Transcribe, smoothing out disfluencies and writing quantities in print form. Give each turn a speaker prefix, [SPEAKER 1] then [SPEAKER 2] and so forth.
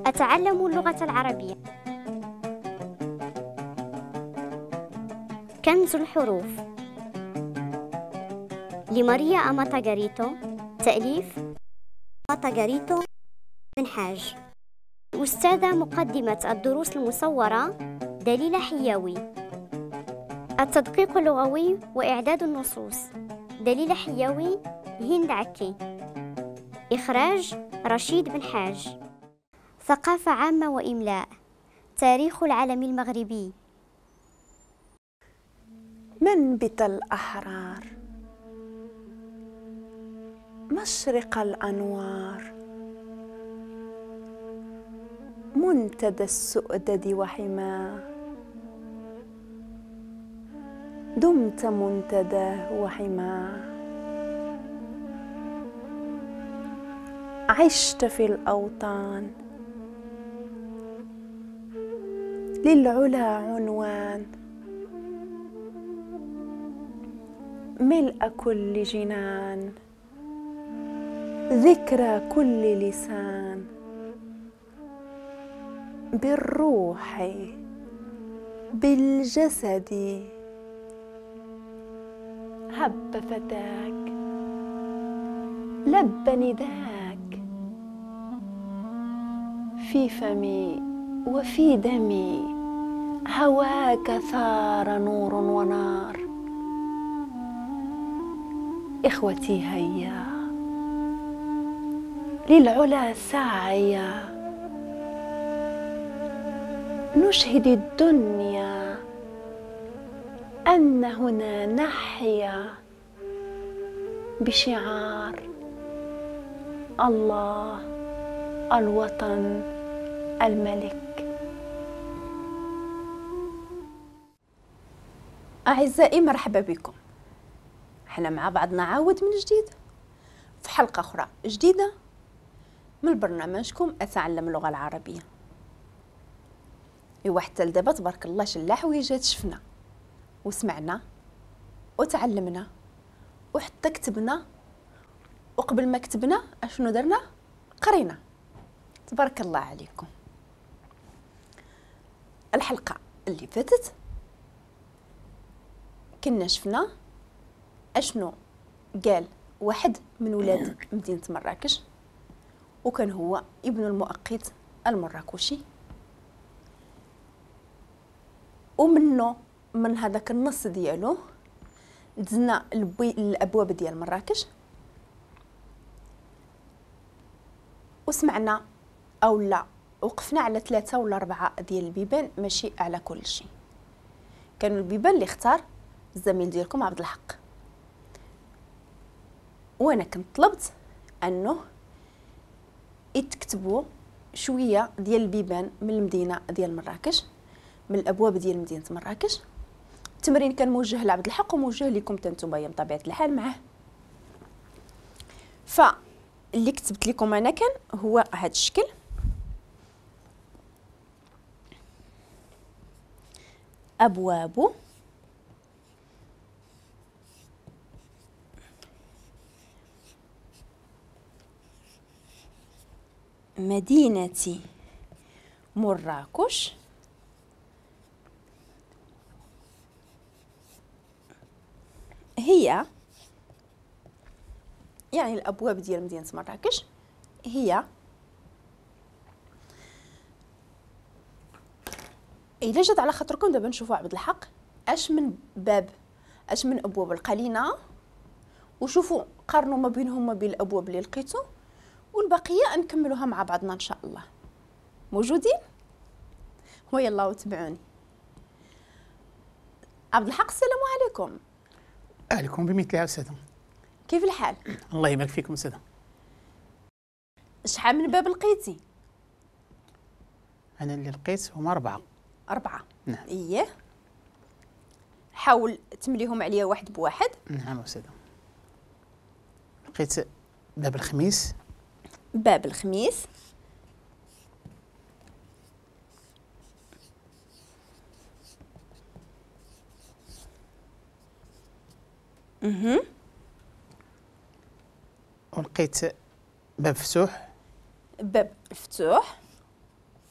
[SPEAKER 1] أتعلم اللغة العربية. كنز الحروف لماريا أماتاغاريتو، تأليف أماتاغاريتو بن حاج. أستاذة مقدمة الدروس المصورة دليلة حياوي. التدقيق اللغوي وإعداد النصوص دليلة حياوي، هند عكي. إخراج رشيد بن حاج. ثقافة عامة وإملاء. تاريخ العالم المغربي.
[SPEAKER 2] منبت الأحرار، مشرق الأنوار، منتدى السؤدد وحماه، دمت منتداه وحماه. عشت في الأوطان، للعلا عنوان، ملء كل جنان، ذكرى كل لسان، بالروح بالجسد هب فتاك، لب نداك، في فمي وفي دمي هواك ثار نور ونار. إخوتي هيا للعلا سعيا، نشهد الدنيا أن هنا نحيا بشعار الله الوطن الملك. أعزائي مرحبا بكم، احنا مع بعضنا عاود من جديد في حلقة أخرى جديدة من برنامجكم أتعلم اللغة العربية. إيوا حتى لدابا تبارك الله شلا حويجات شفنا وسمعنا وتعلمنا وحتى كتبنا، وقبل ما كتبنا اشنو درنا؟ قرينا. تبارك الله عليكم. الحلقة اللي فاتت كنا شفنا اشنو قال واحد من ولاد مدينة مراكش، وكان هو ابن المؤقت المراكشي، ومنه من هذاك النص ديالو دزنا الابواب ديال مراكش، وسمعنا او لا وقفنا على 3 ولا 4 ديال البيبان، ماشي على كل شيء. كانوا البيبان اللي اختار الزميل ديالكم عبد الحق، وانا كنت طلبت انه يتكتبوا شوية ديال البيبان من المدينة ديال مراكش، من الابواب ديال مدينة مراكش. التمرين كان موجه لعبد الحق وموجه لكم نتوما بطبيعة الحال معاه. فاللي كتبت لكم انا كان هو هذا الشكل، ابواب مدينة مراكش هي، يعني الأبواب ديال مدينة مراكش هي. إلا جات على خاطركم دابا نشوفوا عبد الحق اش من باب، اش من أبواب لقى لينا، وشوفوا قارنوا ما بينهم ما بين الأبواب اللي لقيتو، والبقية نكملوها مع بعضنا إن شاء الله. موجودين؟ ويلا وتبعوني. عبد الحق السلام عليكم.
[SPEAKER 3] عليكم بمثلها أستاذة.
[SPEAKER 2] كيف الحال؟
[SPEAKER 3] الله يبارك فيكم أستاذة.
[SPEAKER 2] شحال من باب لقيتي؟
[SPEAKER 3] أنا اللي لقيت هما 4.
[SPEAKER 2] 4؟
[SPEAKER 3] نعم.
[SPEAKER 2] إيه، حاول تمليهم عليا واحد بواحد.
[SPEAKER 3] نعم أستاذة. لقيت باب الخميس.
[SPEAKER 2] باب الخميس.
[SPEAKER 3] ولقيت باب فتوح.
[SPEAKER 2] باب فتوح.